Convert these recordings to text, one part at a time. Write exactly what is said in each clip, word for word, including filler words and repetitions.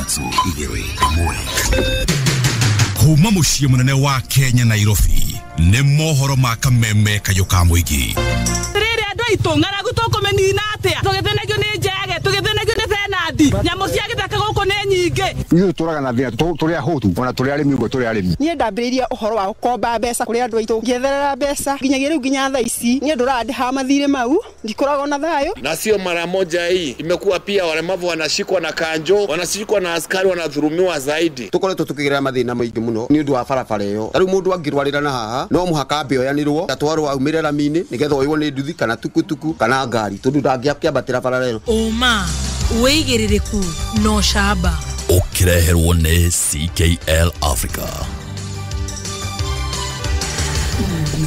Ithatũ, igĩrĩ, ĩmwe. Kuma mũciĩ mũnene wa Kenya, Nairobi, nĩ mohoro ma kameme kayũ ka mũingĩ. Rĩrĩ andũ aitũ, ng'aragu tũkũmĩnina atĩa? Tũgĩthĩnagio nĩ njege, tũgĩthĩnagio nĩ benandi, nyamũ cia gĩthaka gũkũ nĩ nyingĩ. Ithuĩ tũraga na thĩna, tũrĩ ahũtu, ona tũrĩ arĩmi ũguo tũrĩ arĩmi. Niĩ ndambĩrĩirie ũhoro wa gũkomba mbeca kũrĩ andũ aitũ, ngĩetherera mbeca nginyagia rĩu, nginya thaa ici niĩ ndũrandĩhaga mathirĩ mau, ndikoragwo na thayũ. Na sio mara moja hii, imekuwa pia walemavu wanashikwa na kanjo, wanashikwa na askari, wanadhulumiwa zaidi. Tukoretwo tukigerera mathĩna maingĩ mũno nĩ ũndũ wa barabara ĩyo. Ta rĩu mũndũ angĩrwarĩra na haha no mũhaka ambe oyanĩrwo atwarwo aumĩre rami-inĩ nĩgetha oywo nĩ nduthi kana tukutuku kana ngari, tondũ ndangĩakĩambatĩra barabara ĩyo. Ũma, wĩigĩrĩrĩku na ũcamba. Ũkĩreherwo nĩ C K L Africa.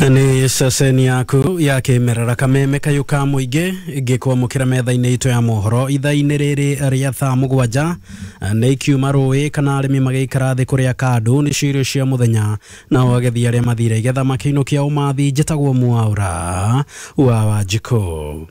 Nĩ ceceni yaku ya kĩmerera, kameme kayũ ka mũingĩ, ngĩkwamũkĩra metha-inĩ itũ ya mohoro ithaa-inĩ rĩrĩ rĩa thaa mũgwanja. Nĩ ikiuma rũĩ kana arĩmi magĩikara thĩ kũrĩa kandũ nĩcio irio cia mũthenya, nao agethi arĩa mathire igetha makĩinũkia ũmathi. Njĩtagwo Mwaũra wa Wanjikũ.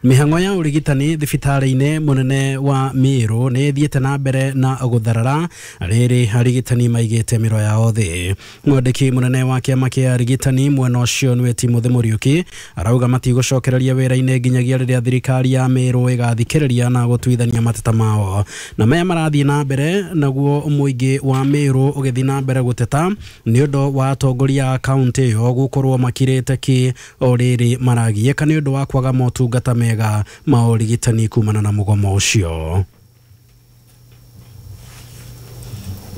Mĩhang'o ya ũrigitani thibitarĩ-inĩ mũnene wa Mĩrũ nĩ ĩthiĩte na mbere na gũtharara rĩrĩ arigitani maigĩte mĩro yao thĩ. Mwandĩki mũnene wa kĩama kĩa arigitani mwena ũcio, nĩwe Timothy Mũriũki, arauga matigũcokereria wĩra-inĩ nginyagia rĩrĩa thirikari ya Mĩrũ ĩgathikĩrĩria na gũtuithania mateta mao. Na maya marathiĩ na mbere naguo mũingĩ wa Mĩrũ ũgĩthiĩ na mbere gũteta nĩ ũndũ wa atongoria a kaũntĩ ĩyo gũkorwo makirĩte ki o rĩrĩ maragiĩka nĩ ũndũ wa kwaga motungata mega ma ũrigitani kumana na mũgomo ũcio.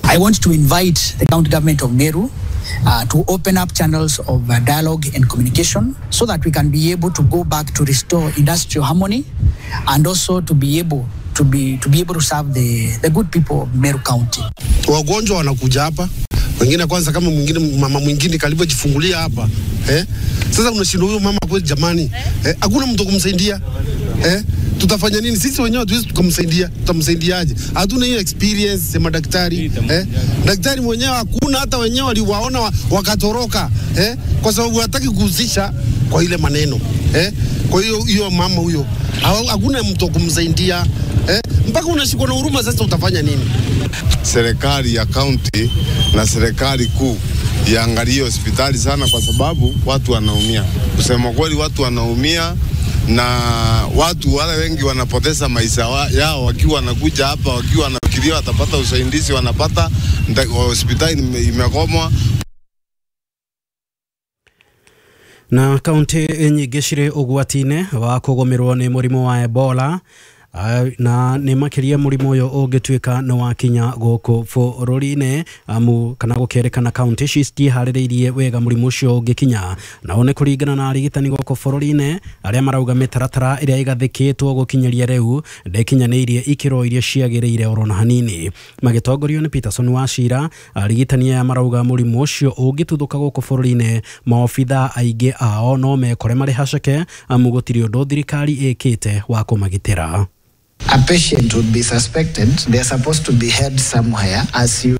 I want to invite the county government of Meru uh, to open up channels of uh, dialogue and communication so that we can be able to go back to restore industrial harmony and also to be able to be, to be able to serve the, the good people of Meru County. Wagonjwa wanakuja hapa, wengine kwanza, kama mwingine, mama mwingine kalivyojifungulia hapa, eh? Sasa unashindwa, huyo mama kweli jamani, eh? Hakuna mtu kumsaidia, eh? Tutafanya nini? Sisi wenyewe hatuwezi tukamsaidia, tutamsaidiaje? Hatuna hiyo experience ya madaktari, eh? Daktari mwenyewe hakuna, hata wenyewe waliwaona wakatoroka, eh? Kwa sababu hataki kuhusisha kwa ile maneno, eh? Kwa hiyo hiyo mama huyo hakuna mtu kumsaidia, eh? Mpaka unashikwa na huruma. Sasa utafanya nini? Serikali ya kaunti na serikali kuu iangalie hospitali sana, kwa sababu watu wanaumia. Kusema kweli, watu wanaumia na watu wale wengi wanapoteza maisha yao wakiwa wanakuja hapa, wakiwa wanafikiria watapata usaidizi, wanapata hospitali imegomwa. Na kaunti nyingĩ cirĩ ũgwati-inĩ wa kũgũmĩrwo nĩ mũrimũ wa Ebola, na nĩ makĩria mũrimũ ũyũ ũngĩtuĩka nĩ wakinya gũkũ bũrũri-inĩ, amu kana gũkerĩkana kaunti ici citiharĩrĩirie wega mũrimũ ũcio ũngĩkinya. Nao nĩ kũringana na arigitani gũkũ bũrũri-inĩ arĩa marauga mĩtaratara ĩrĩa ĩgathĩkĩtwo gũkinyĩria rĩu ndĩkinyanĩirie ikĩro iria ciagĩrĩire oro na hanini. Magĩtongorio nĩ Peterson Wachira, arigitani aya marauga mũrimũ ũcio ũngĩtuthũka gũkũ bũrũri-inĩ, maobitha aingĩ ao no mekore marĩ haceke, amu gũtirĩ ũndũ thirikari ĩkĩte wa kũmagitĩra. A patient would be suspected, they're supposed to be held somewhere as you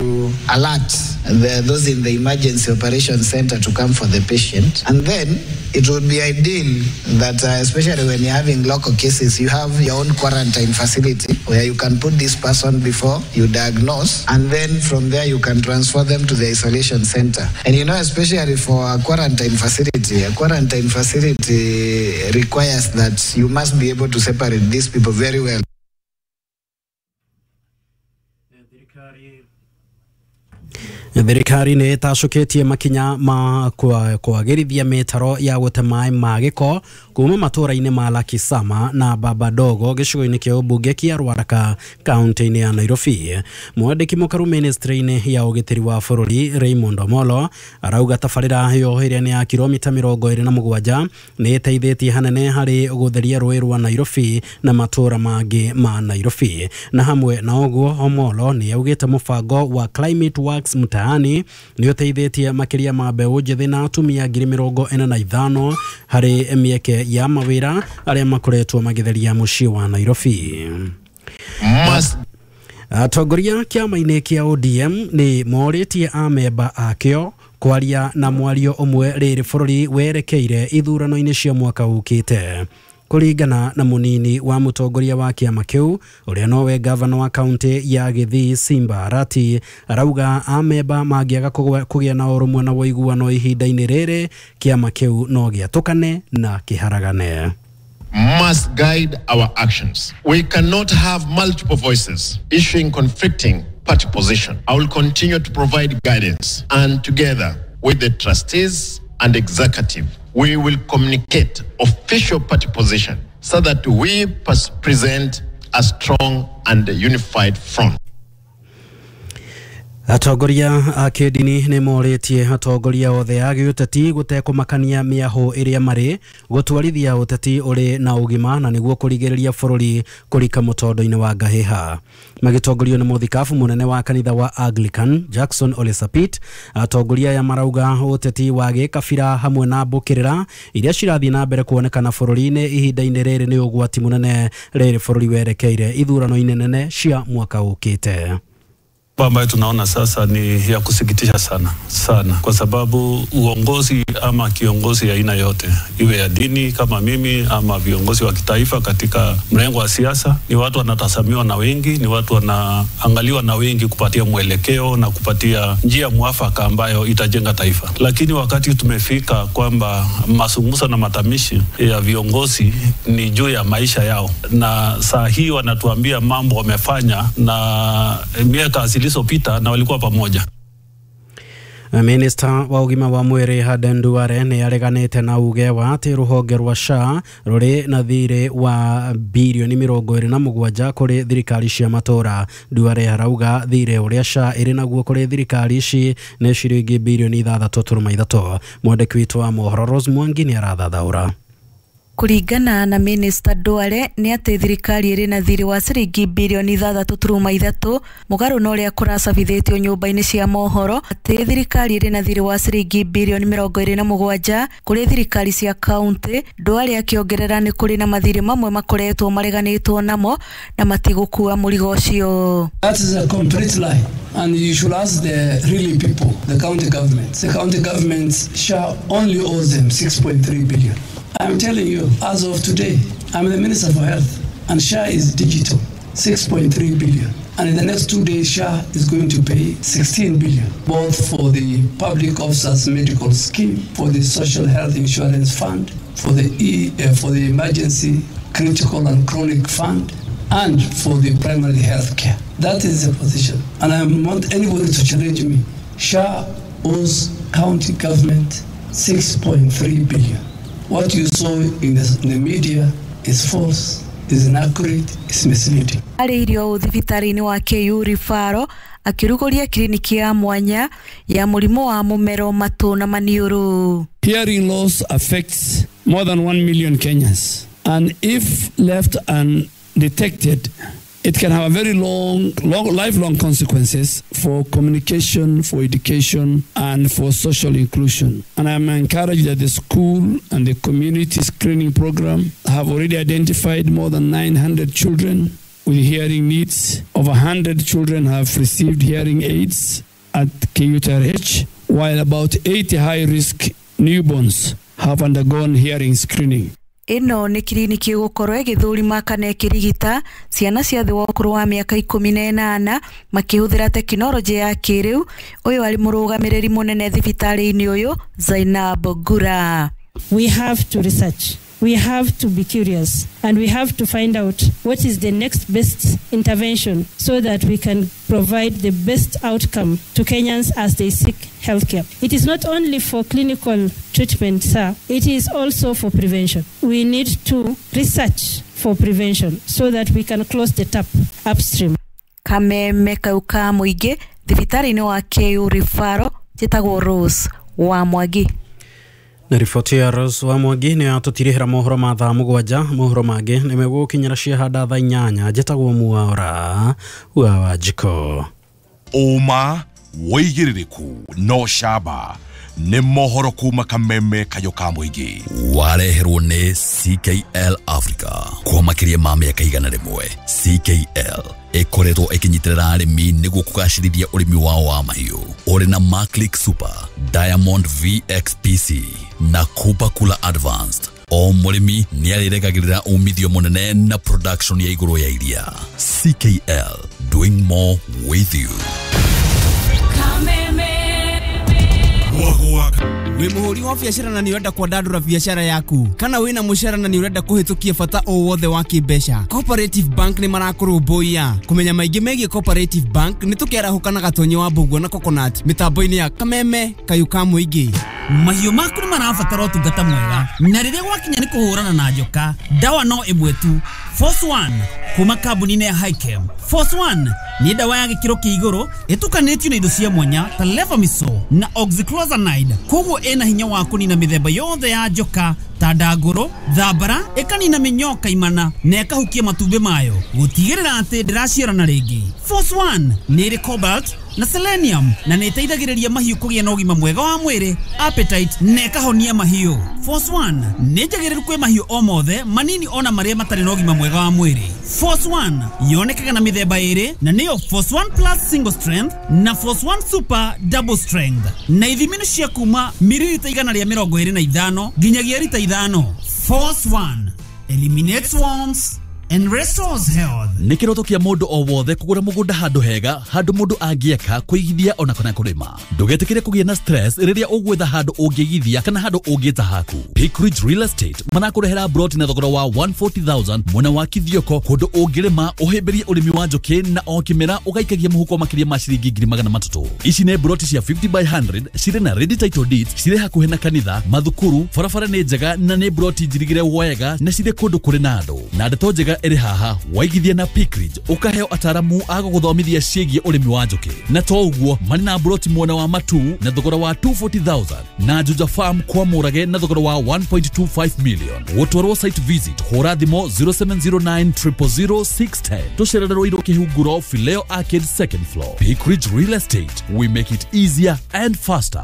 alert the, those in the emergency operation center to come for the patient. And then it would be ideal that, uh, especially when you're having local cases, you have your own quarantine facility where you can put this person before you diagnose, and then from there you can transfer them to the isolation center. And you know, especially for a quarantine facility, a quarantine facility requires that you must be able to separate these people very well. Thirikari nĩ ĩtacũkĩtie makinya ma kwagĩrithia mĩtaro ya gũte maĩ ma gĩko kuma matũra-inĩ ma Lakisama na Babadogo gĩcigo-inĩ kĩa ũmbunge kĩa Ruaraka kaunti-inĩ ya Nairobi. Mwandĩki mũkaru ministry-inĩ ya ũgitĩri wa bũrũri, Raymond Omolo, arauga tabarĩra ĩyo ĩrĩa nĩ ya kilomita mĩrongo ĩrĩ na mũgwanja nĩ ĩteithĩtie hanene harĩ gũtheria rũĩ rwa Nairobi na matũra mangĩ ma Nairobi. Na hamwe na ũguo, Omolo nĩ augĩte mũbango wa Climate Works Mtaani nĩ ũteithĩtie makĩria ma mbeũ njĩthĩ na atumia ngiri mĩrongo ĩna na ithano harĩ mĩeke ya mawĩra arĩa makoretwo magĩtheria mũciĩ wa Nairobi. Atongoria kĩama-inĩ kĩa O D M nĩ morĩtie amemba akĩo kwaria na mwario ũmwe rĩrĩ bũrũri werekeire ithurano-inĩ cia mwaka ũkĩte. Kũringana na mũnini wa mũtongoria wa kĩama kĩu ũrĩa nowe gavana wa kaunti ya Gĩthii Simba Arati arauga amemba mangĩaga kũgĩa na ũrũmwe na ũiguano ihinda-inĩ rĩrĩ kĩama kĩu no gĩatũkane na kĩharagane. Must guide our actions. We cannot have multiple voices issuing conflicting party position. I will continue to provide guidance, and together with the trustees and executive, we will communicate official party position so that we present a strong and unified front. Atongoria a kĩndini nĩ morĩtie atongoria othe a gĩũteti gũtekũmakania mĩahũ ĩrĩa marĩ gũtwarithia ũteti ũrĩ na ũgima na nĩguo kũrigĩrĩria bũrũri kũrika mũtondo-inĩ wa ngahĩha. Magĩtongorio nĩ mũthikabu mũnene wa kanitha wa Anglican Jackson Ole Sapit, atongoria aya marauga ũteti wa gĩkabira hamwe na mbũkĩrĩra iria cirathiĩ na mbere kuonekana bũrũri-inĩ ihinda-inĩ rĩrĩ nĩ ũgwati mũnene rĩrĩ bũrũri werekeire ithurano-inĩ nene cia mwaka ũkĩte. Ambayo tunaona sasa ni ya kusikitisha sana sana, kwa sababu uongozi ama kiongozi aina yote, iwe ya dini kama mimi ama viongozi wa kitaifa katika mrengo wa siasa, ni watu wanatazamiwa na wengi, ni watu wanaangaliwa na wengi kupatia mwelekeo na kupatia njia mwafaka ambayo itajenga taifa. Lakini wakati tumefika kwamba mazungumzo na matamishi ya viongozi ni juu ya maisha yao, na saa hii wanatuambia mambo wamefanya na miaka zilizopita na walikuwa pamoja. Minista wa ũgima wa mwĩrĩ Aden Duale nĩ areganĩte na uge wa atĩ rũhonge rwa S H A rũrĩ na thirĩ wa birioni mĩrongo ĩrĩ na mũgwanja kũrĩ thirikari cia matũũra. Duale arauga thirĩ ũrĩa S H A ĩrĩ naguo kũrĩ thirikari ici nĩ ciringi birioni ithathatũ turuma ithatũ. Mwandĩki witũ wa mohoro Rose Mwangi nĩ arathathaũra. Kũringana na Minista Duale nĩ atĩ thirikari ĩrĩ na thirĩ wa ciringi birioni ithathatũ turuma ithatũ mũgarũ na ũrĩa kũracabithĩtio nyũmba-inĩ cia mohoro atĩ thirikari ĩrĩ na thirĩ wa ciringi birioni mĩrongo ĩrĩ na mũgwanja kũrĩ thirikari cia kaunti. Duale akĩongerera nĩ kũrĩ na mathirĩ mamwe makoretwo mareganĩtwo namo na matigũkua mũrigo ũcio. That is a complete lie, and you should ask the really people, the county governments. The county governments shall only owe them six point three billion. I'm telling you, as of today, I'm the Minister for Health, and S H A is digital, six point three billion. And in the next two days, S H A is going to pay sixteen billion, both for the Public Officers Medical Scheme, for the Social Health Insurance Fund, for the E, uh, for the Emergency Critical and Chronic Fund, and for the primary health care. That is the position. And I want anybody to challenge me. S H A owes county government six point three billion. What you saw in the, in the media is false, is inaccurate, is misleading. Arĩirio thibitarĩ-inĩ wa K U Rifaro akĩrugũria kiriniki ya mwanya ya mũrimũ wa mũmero matũ na maniũrũ. Hearing loss affects more than one million Kenyans, and if left undetected, it can have a very long, long, lifelong consequences for communication, for education, and for social inclusion. And I'm encouraged that the school and the community screening program have already identified more than nine hundred children with hearing needs. Over one hundred children have received hearing aids at K U T R H, while about eighty high-risk newborns have undergone hearing screening. Ĩno nĩ kiriniki ĩgũkorwo ĩgĩthũrima kana ĩkĩrigita ciana cia thĩ wa ũkũrũ wa mĩaka ikũmi na ĩnana makĩhũthĩra tekinoronjĩ ya kĩrĩu. Ũyũ arĩ mũrũgamĩrĩri mũnene thibitarĩ-inĩ ũyũ Zainab Gura. We have to research. We have to be curious, and we have to find out what is the next best intervention so that we can provide the best outcome to Kenyans as they seek healthcare. It is not only for clinical treatment, sir, it is also for prevention. We need to research for prevention so that we can close the tap upstream. Kameme kau ka mũingĩ thibitarĩ-inĩ wa K U Rifaro njĩtagwo Rose wa Mwangi. Na riboti ya Rose wa Mwangi nĩ yatũtirihĩra mohoro ma thaa mũgwanja. Mohoro mangĩ nĩ megũgũkinyĩra ciahanda thaa inyanya. Njĩtagwo Mwaura wa Wanjikũ. Ũma wĩigĩrĩrĩku no camba nĩ mohoro kuma kameme kayo ka mũingĩ wareherwo nĩ C K L Africa kwa makĩria ma mĩaka igana rĩmwe. C K L ĩkoretwo ĩkĩnyitĩrĩra arĩmi nĩguo kũgacĩrithia ũrĩmi wao wa mahiũ ũrĩ na Maclick Super, Diamond V X P C na Cooper Cooler Advanced. O mũrĩmi nĩ arĩregagĩrĩra umithio mũnene na production ya igũrũ ya iria. C K L, doing more with you. Wĩ mũhũri wa biacara na nĩ ũrenda kwandandũra biacara yaku, kana wĩna mũcara na nĩ ũrenda kũhĩtũkia bata o wothe wa kĩmbeca, Cooperative Bank nĩ marakũrũmbũiya. Kũmenya maingĩ megiĩ Cooperative Bank nĩ tũkĩarahũka na Gatonyi wa Mbũguo na Coconut mĩtambo-inĩ ya Kameme Kayũ ka Mũingĩ. Mahiũ maku nĩ marabatara ũtungata mwega, na rĩrĩa gwakinya nĩ kũhũrana na njoka, ndawa no ĩmwe tu, Force One kuma kambuni-inĩ ya Hikem. Force One nĩ ndawa ya gĩkĩro kĩa igũrũ ĩtukanĩtio na indo cia mwanya ta Levamisole na Oxyclozanide, koguo ĩna hinya wa kũnina mĩthemba yothe ya njoka ta ndangũrũ, thambara, ĩkanina mĩnyoo kaimana na ĩkahukia matumbĩ mayo gũtigĩrĩra atĩ ndĩraciarana rĩngĩ. Force One nĩ ĩrĩ cobalt na selenium na nĩ ĩteithagĩrĩria mahiũ kũgĩa na ũgima mwega wa mwĩrĩ, appetite na ĩkahonia mahiũ. Force One nĩ njagĩrĩru kwĩ mahiũ o mothe manini ona marĩa matarĩ na ũgima mwega wa mwĩrĩ. Force One yonekaga na mĩthemba ĩrĩ na nĩyo Force One Plus Single Strength na Force One Super Double Strength, na ithimi nĩ cia kuma mililita igana rĩa mĩrongo ĩrĩ na ithano nginyagia rita ithano. Force One eliminates worms and restores health. Nĩ kĩroto kĩa mũndũ o wothe kũgũra mũgũnda handũ hega, handũ mũndũ angĩaka, kũigithia ona kana kũrĩma. Ndũgetĩkĩre kũgĩa na stress rĩrĩa ũgwetha handũ ũngĩigithia kana handũ ũngĩta haku. Peak Ridge Real Estate marakũrehera broti na thogora wa one forty thousand mwena wa Kithioko, kũndũ ũngĩrĩma ũhĩmbĩrie ũrĩmi wa njũkĩ na o kĩmera ũgaikagia mũhuko makĩria ma ciringi ngiri magana matatũ. Ici nĩ broti cia fifty by hundred cirĩ na ready title deeds, cirĩ hakuhĩ na kanitha, mathukuru, barabara nĩ njega na nĩ broti njirigĩre wega na cirĩ kũndũ kũrĩ na andũ. Na ndeto njega ĩrĩ haha, waigithia na Peak Ridge ũkaheo ataramu a gũgũthomithia ciĩgiĩ ũrĩmi wa njũkĩ. Na to ũguo marĩ na broti mwena wa Matu na thogora wa two forty thousand na Juja Farm kwa Mũrage na thogora wa one point two five million. Gũtwarwo site visit hũra thimũ zero seven zero nine triple zero six ten. Tũcerere Ruiru Kĩhunguro, Fileo Arcade second floor. Peak Ridge Real Estate, we make it easier and faster.